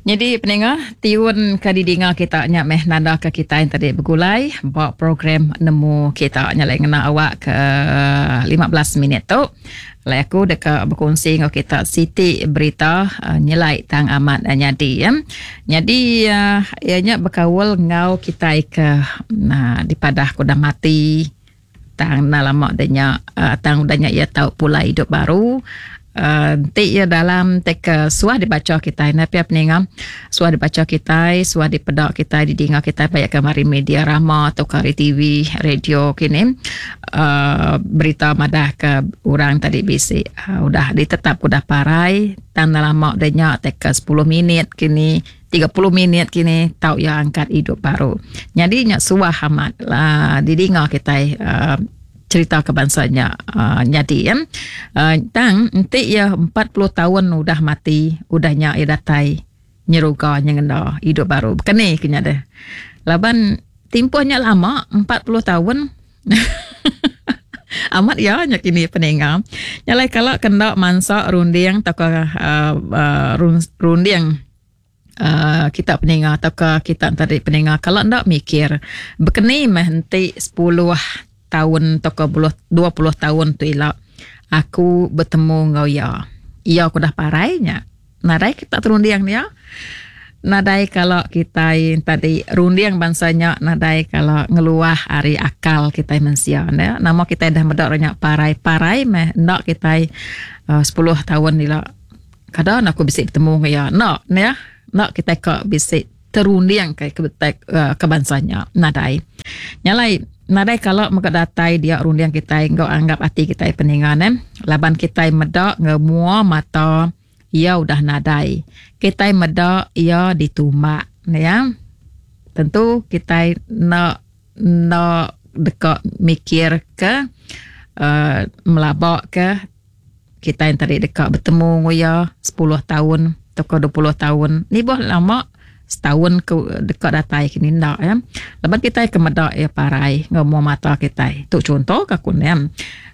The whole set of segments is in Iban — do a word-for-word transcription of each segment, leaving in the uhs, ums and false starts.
Nyadi peninga tiun ke didinga kita nya meh nanda ke kita yang tadi begulai ba program nemu kita nya lai ngena awak ke lima belas minit tu. Lai aku deka berkongsi enggau kita siti berita uh, nyelai tang amat uh, nyadi ya. Nyadi uh, ia nya bekaul enggau kita ke uh, dipadah ku dah mati tang na lama dah nya uh, tang udah nya ia tau pulai hidup baru. Enti uh, ia dalam tek uh, suah dibaca kita na pia peninga suah dibaca kita suah dipeda kita didinga kita banyak kemari media rama atau kari T V radio kini uh, berita madah ke orang tadi bisi uh, udah ditetap udah parai tang lama dah nya tek sepuluh minit kini tiga puluh minit kini tau ia angkat hidup baru. Jadi nya suah amat lah didinga kita uh, cerita kebangsanya uh, nyadi ya. Uh, tang enti ia empat puluh tahun udah mati, udahnya ia datai nyeruga nyengenda hidup baru. Kene kenya deh. Laban timpuhnya lama empat puluh tahun. Amat ya nya kini peninga. Nyalai kalau kena mansa runding atau uh, uh, runding Uh, kita peninga atau kita tadi peninga kalau ndak mikir bekeni meh enti sepuluh tahun atau ke dua puluh tahun tu ila aku bertemu ngau ia. Ia aku dah parainya. Nadai kita terunding dia. Nadai kalau kita tadi runding bangsanya nadai kalau ngeluah ari akal kita mensia ne. Nama kita dah medak nya parai-parai meh ndak kita uh, sepuluh tahun ila. Kadang aku bisi bertemu ngau ia. Nak ne ya. Nak kita ke bisi terunding ke ke, uh, ke bangsanya nadai. Nyalai nadai kalau mega datai dia runding kita enggau anggap hati kita peningan eh. Laban kita medak ngemua mata ia udah nadai. Kita medak ia ditumbak ya. Tentu kita nak nak dekat mikir ke uh, melabak ke kita yang tadi dekat bertemu dengan ia sepuluh tahun atau dua puluh tahun. Ni boh lama setahun ke dekat datai kini ndak ya. Lepas kita ke medak ya parai ngomong mata kita. Tu contoh ke aku ni.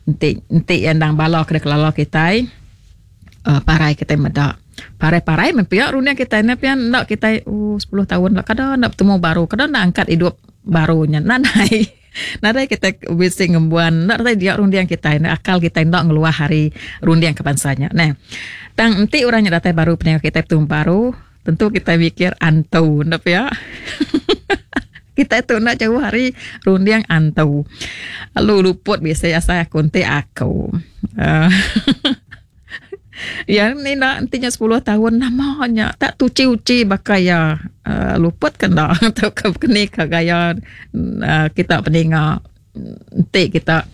Enti enti endang bala ke kelala kita uh, parai kita medak. Parai-parai mempiak runia kita ni pian ndak kita oh sepuluh tahun lah kadang nak bertemu baru, kadang nak angkat hidup barunya. Nadai. Nadai kita bisi ngembuan, ndak datai dia rundiang kita ni akal kita ndak ngeluah hari rundiang kebangsanya. Nah, tang enti orangnya datai baru peninga kita bertemu baru, tentu kita mikir antu, ndak ya? Kita tu nak jauh hari rundiang antu. Lalu luput biasa saya aku enti aku. Uh, ya ni nak entinya sepuluh tahun namanya tak tuci-uci bakal ya uh, luput kan dak atau ke kini ke gaya uh, kita peninga enti kita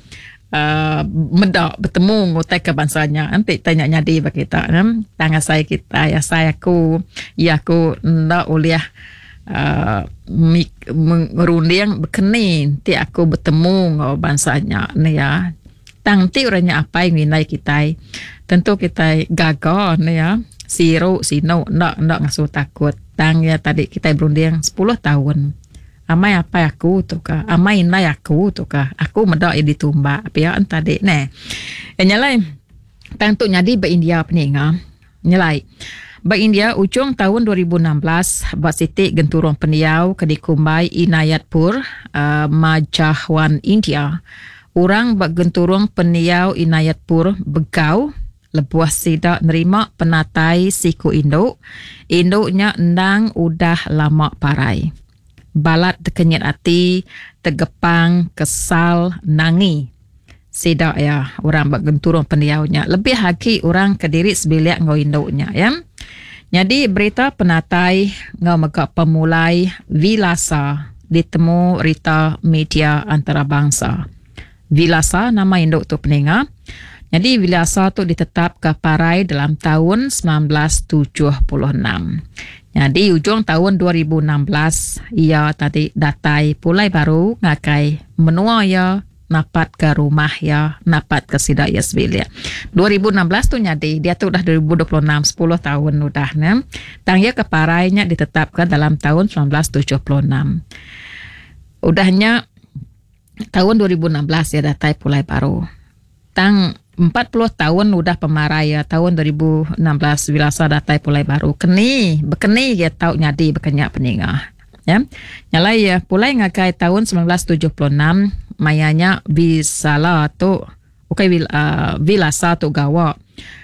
uh, medak bertemu ngutai ke bangsanya enti tanya nyadi bagi kita ne tangan saya kita ya saya aku ya aku ndak boleh uh, merunding bekeni enti aku bertemu ngau bangsanya ni ya. Tang ti orangnya apa yang nilai kita tentu kita gagal ni ya siru sino ndak ndak ngasuh takut. Tang ya tadi kita berunding sepuluh tahun amai apa aku tu ka amai nilai aku tu ka aku medak ia ditumbak pia tadi ne e nyalai tang tu nyadi ba India peninga nyalai ba India ujung tahun dua ribu enam belas ba siti genturung pendiau ke dikumbai Inayatpur uh, Majahwan India. Orang ba genturung pendiau Inayatpur begau lebuh sida nerima penatai siku induk. Induknya endang udah lama parai. Balat tekenyit hati, tegepang, kesal, nangi. Sida ya orang ba genturung pendiaunya. Lebih lagi orang kediri sebiliak ngau induknya ya. Jadi berita penatai ngau mega pemulai Vilasa ditemu rita media antarabangsa. Vilasa nama induk tu peninga. Jadi Vilasa tu ditetap ke parai dalam tahun sembilan belas tujuh puluh enam. Jadi ujung tahun dua ribu enam belas ia tadi datai pulai baru ngakai menua ia napat ke rumah ia napat ke sidak ia sebilik. dua ribu enam belas tu nyadi dia tu dah dua ribu dua puluh enam sepuluh tahun udah ne. Tang ia ke parainya ditetapkan dalam tahun sembilan belas tujuh puluh enam. Udahnya tahun dua ribu enam belas ia datai pulai baru. Tang empat puluh taun udah pemarai iya taun dua ribu enam belas Wilasa datai pulai baru. Keni bekeni iya tau nyadi bekenya peninga. Ya. Nyalai iya pulai ngagai taun seribu semilan ratus tujuh puluh enam maya nya Visala tu ukai uh, Vilasa tu gawa.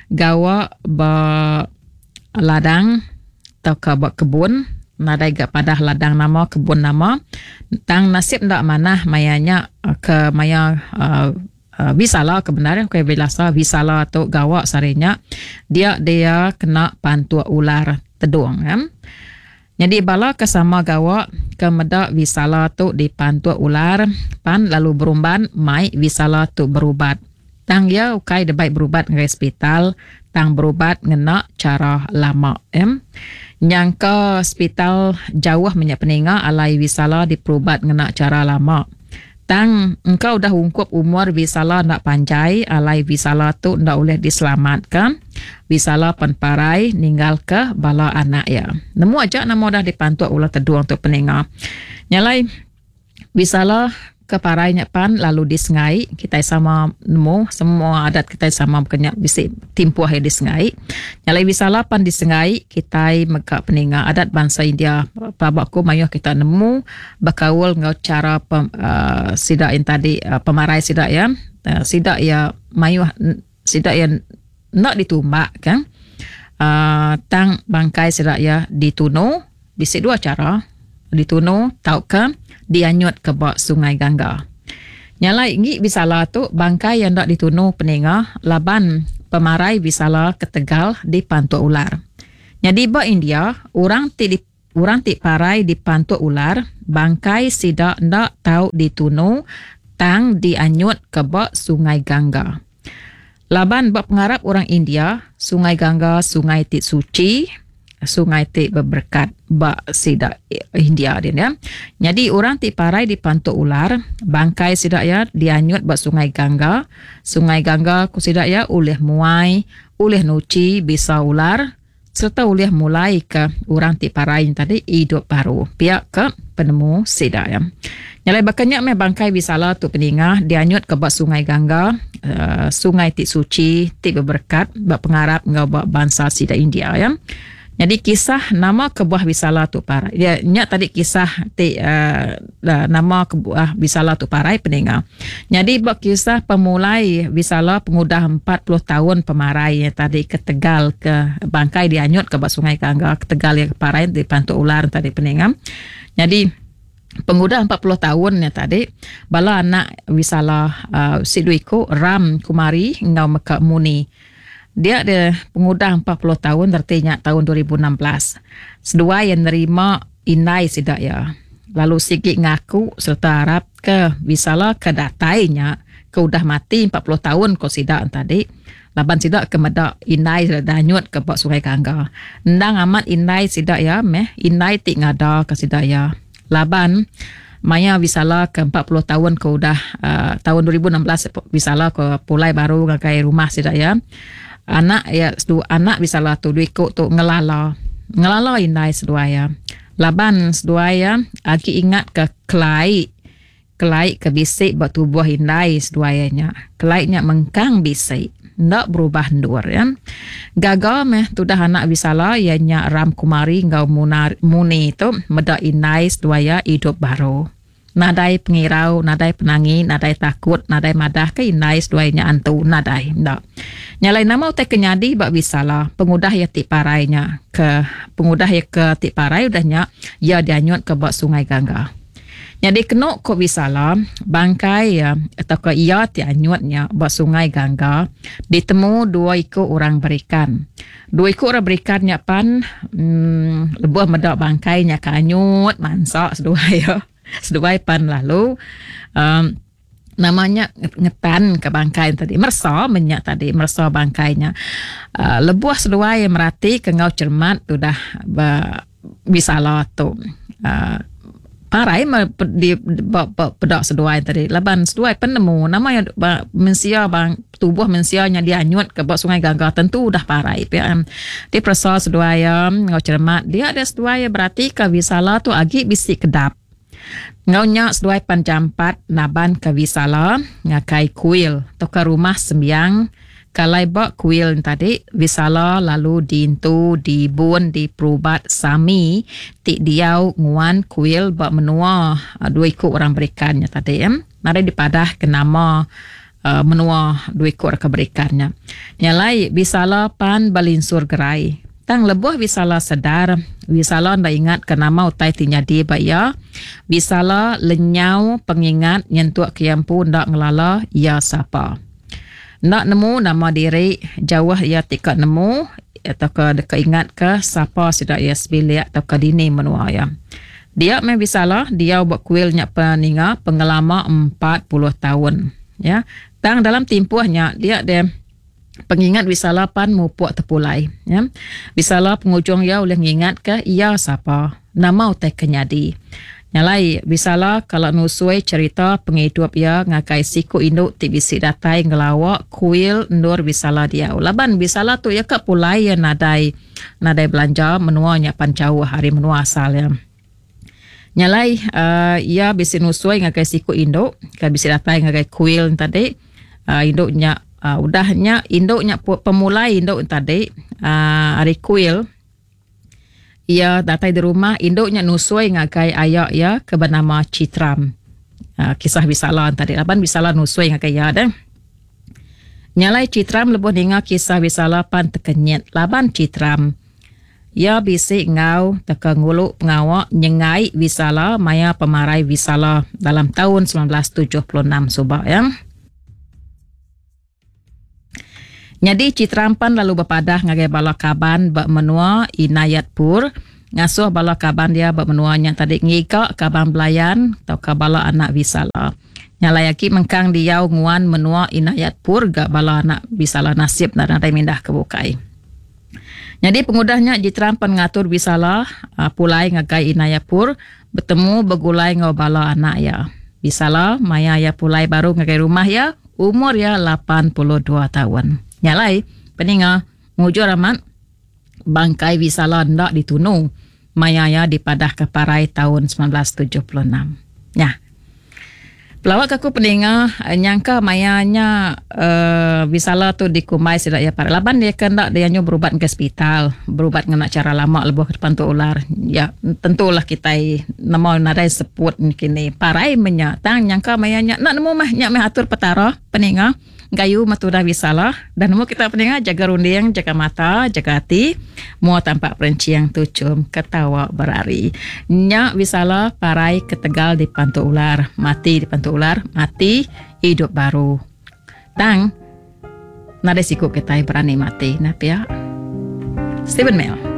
Gawa ba ladang tauka ba kebun, nadai ga padah ladang nama kebun nama. Tang nasib ndak manah maya nya ke maya uh, Uh, Visala ke benar okay, Vilasa Visala tu gawa sarinya dia dia kena pantuk ular tedung ya. Jadi bala ke sama gawa ke meda Visala tu dipantuk ular pan lalu berumban mai Visala tu berubat. Tang ia ukai debai berubat ngagai hospital, tang berubat ngena cara lama ya. Nyangka hospital jauh menyak peninga alai Visala diperubat ngena cara lama. Tang engkau dah ungkup umur Visala nak panjai alai Visala tu ndak boleh diselamatkan. Visala pan parai ninggal ke bala anak ya. Nemu aja nama dah dipantuk ular tedung tu peninga. Nyalai Visala ke parai nya pan lalu disengai, kita sama nemu semua adat kita sama kena bisi timpuh yang disengai. Nyalai Visala pan disengai, kita mega peninga adat bangsa India pabaku mayuh kita nemu bekaul ngau cara pem, uh, sida yang tadi uh, pemarai sida ya. Uh, sida ya mayuh sida ya nak ditumbak kan. Uh, tang bangkai sida ya ditunu, bisi dua cara, ditunu tauka dianyut ke bak Sungai Gangga. Nyalai ngi Visala tu bangkai yang dak ditunu peninga laban pemarai Visala ketegal dipantuk ular. Jadi ba India orang ti di, orang ti parai dipantuk ular, bangkai sida ndak tau ditunu tang dianyut ke bak Sungai Gangga. Laban ba pengarap orang India, Sungai Gangga sungai ti suci, sungai ti berberkat ba sida India dia ya. Jadi orang ti parai dipantuk ular, bangkai sida ya dianyut ba Sungai Gangga. Sungai Gangga ku sida ya ulih muai, ulih nuci bisa ular serta ulih mulai ke orang ti parai tadi hidup baru. Pihak ke penemu sida ya. Nyalai bakanya meh bangkai Visala tu peninga dianyut ke ba Sungai Gangga, uh, sungai ti suci, ti berberkat ba pengarap ngau ba bangsa sida India ya. Jadi kisah nama kebuah Visala tu parai. Ya, nya tadi kisah ti uh, nama kebuah Visala tu parai peninga. Jadi bab kisah pemulai Visala pengudah empat puluh tahun pemarai ya, tadi ketegal ke bangkai dianyut ke bak Sungai Gangga, ketegal yang parai dipantuk ular tadi peninga. Jadi pengudah empat puluh tahun ya tadi bala anak Visala uh, Siduiko Ram Kumari ngau Meka Muni. Dia ada pengudah empat puluh tahun artinya tahun dua ribu enam belas. Seduai yang nerima indai sidak ya. Lalu sikit ngaku serta harap ke Visala ke datainya ke udah mati empat puluh tahun ko sidak tadi. Laban sidak ke medak indai sidak danyut ke bak Sungai Gangga. Endang amat indai sidak ya meh indai ti ngada ke sidak ya. Laban maya Visala ke empat puluh tahun ke udah uh, tahun dua ribu enam belas Visala ke pulai baru ngagai rumah sidak ya. Anak ya sedu anak Visala tu dua ikut tu ngelala ngelala indai seduai ya. Laban seduai ya agi ingat ke kelai kelai ke bisik ba tubuh indai seduai nya. Kelai nya mengkang bisik ndak berubah ndur ya. Gaga meh tudah anak Visala ya nya Ram Kumari ngau Munar Muni tu meda indai seduai ya hidup baru. Nadai pengirau, nadai penangi, nadai takut, nadai madah ke indai seduai nya antu, nadai. Ndak. Nyalai nama utai kenyadi bak Visala, pengudah ia ti parainya ke pengudah ia ke ti parai udahnya ia dianyut ke bak Sungai Gangga. Jadi kena ko Visala, bangkai ya atau ke ia ti anyutnya bak Sungai Gangga ditemu dua iku orang berikan. Dua iku orang berikan nya pan hmm, lebuh medak bangkainya ke anyut mansak seduai ya. Seduai pan lalu um, namanya ngetan ke bangkai tadi mersa menyak tadi mersa bangkainya. Uh, lebuh seduai yang merati ke ngau cermat tu dah Visala tu. Uh, parai di pedak seduai tadi laban seduai penemu nama yang mensia bang tubuh mensia nya dianyut ke bak Sungai Gangga tentu dah parai pia. Di persa seduai ngau cermat dia ada seduai berarti ke Visala tu agi bisi kedap. Ngau nya seduai panjampat naban ke Visala ngakai kuil atau ke rumah sembiang Kalai ba kuil tadi Visala lalu diintu dibun diperubat Sami ti diau nguan kuil ba menua dua iku orang berikan nya tadi. Nadai dipadah ke nama menua dua iku orang ke berikan nya. Nya alai Visala pan belinsur gerai. Tang lebuh Visala sedar, Visala enda ingat ke nama utai ti nyadi ba iya. Visala lenyau pengingat nyentuk ke iya empu enda ngelala iya sapa. Enda nemu nama diri, jauh iya ti ka nemu tauka deka ingatka sapa sida iya sebilik tauka dini menua iya. Dia meh Visala diau ba kuil nya peninga pengelama empat puluh taun. Ya. Tang dalam timpuh nya dia deh pengingat Visala pan mupuk tepulai. Ya. Visala pengujung iya ulih ngingatka iya sapa, nama utai ke nyadi. Nya alai, Visala kala nusui cherita pengidup iya ngagai siku indu ti bisi datai ngelawa kuil endur Visala diau. Laban Visala tu iya ka pulai iya nadai nadai belanja menua nya pan jauh ari menua asal iya. Nya alai, uhh iya bisi nusui ngagai siku indu ke bisi datai ngagai kuil nya tadi. Uhh indu nya uhh udah nya indu nya pemulai indu nya tadi uhh ari kuil. Iya datai di rumah, indu nya nusui ngagai aya iya ke benama Chitram. Kisah Visala tadi laban Visala nusui ngagai iya deh. Nya alai Chitram lebuh ninga kisah Visala pan tekenyit laban Chitram. Iya bisi enggau teka ngulu pengawa nyengai Visala maya pemarai Visala dalam taun semilan belas tujuh puluh enam suba iya. Nyadi Chitram pan lalu bepadah ngagai bala kaban ba menua Inayatpur ngasuh bala kaban dia ba menua nya tadi ngiga kaban belayan tauka bala anak Visala. Nya alai agi mengkang diau nguan menua Inayatpur ga bala anak Visala nasib enda nadai mindah ke bukai. Nyadi pengudah nya Jitram pan ngatur Visala pulai ngagai Inayatpur betemu begulai enggau bala anak iya. Visala maya iya pulai baru ngagai rumah iya umur iya lapan puluh dua taun. Nya alai, peninga, mujur amat bangkai Visala enda ditunu maya iya dipadahka parai taun semilan belas tujuh puluh enam. Nya. Pelawa ke aku peninga nyangka maya nya uhh Visala tu dikumbai sida iya parai laban iya ke enda dianjung berubat ngagai sepital, berubat ngena chara lama lebuh ke depan tu ular. Ya tentulah kitai nemu nadai seput kini parai meh nya tang nyangka maya nya enda nemu meh nya meh atur Petara peninga gayu meh tudah Visala dah nemu kita peninga jaga runding jaga mata jaga ati mua tampak perenching tuchum ketawa berari nya Visala parai ketegal dipantu ular mati dipantu ular mati idup baru tang nadai siku kitai berani mati nah pia Stephen Mel.